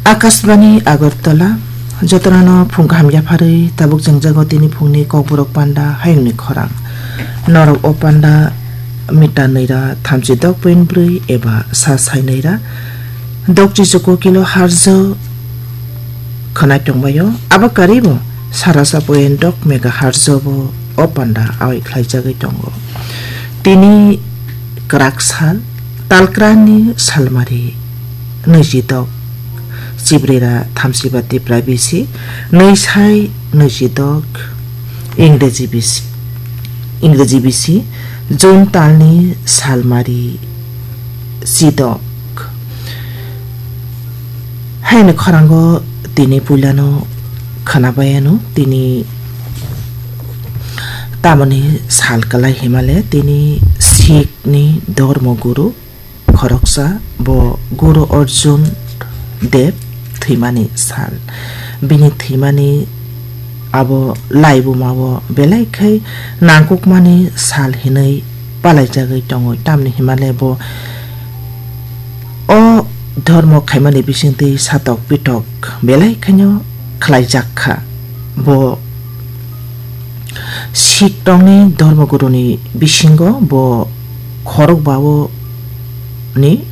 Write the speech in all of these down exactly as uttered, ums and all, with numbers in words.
Akashbani Agartala, jotono phung kaham yapharwi tabuk jengjago tini phungni kokborok panda hayungni khorang. Norok o panda mita nwi ra thamchi dok point brwi eba sa sai nwi ra dokchi chuku kilo harjo khwnai tongbaio. Abo karibo sarasa point dok mega harjo bo o panda awai khlaijagwi tongo. Tini kwrak sal, talkrani salmari nwijidok Chibrira thamsiba Tipra bisi, nwi sai nwijidok Ingreji bisi, Ingreji bisi, June talni salmari chidok. Haini khorango tini puilano khwnabayano tini tamoni sal kwlai himale tini Sikh ni dormo guru khoroksa bo Guru Arjun Dev thwimani sal. Bini thwimani abo laibuma o belai khai nangkukmani sal hinwi palaijagwi tongo, tamni himale bo o dhormo khaimani bisingtwi satok pitok belai khaino khlaijak kha. Bo Sikh tongni dhormo guruni bisingo bo khorok bao ni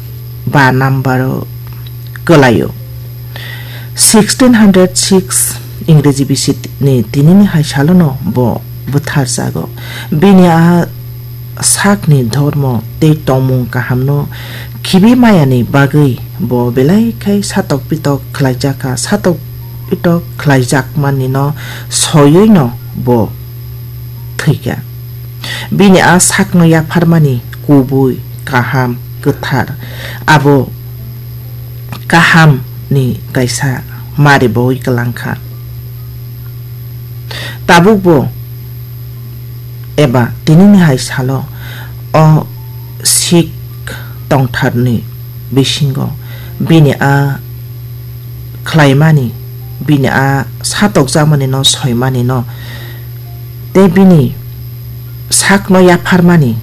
ba number o kwlaio. Sixteen hundred six Ingreji bisi ni tinini hai salono bo bwtharjago. Bini a sakni dhormo tei tongmung kahamno khibi mayani bagwi bo belai khai satok pitok khlaijakha, satok pitok khlaijakmani no soiwi no bo thwikha. Bini a sakno yapharmani kubui, kaham, kwthar, abo kaham ni kaisa mari boi kwlangkha. Tabukbo eba tinini hai salo o Sikh tongtharni bisingo bini a khlaimani, bini a satokjakmani no soimani no tei bini sakno yapharmani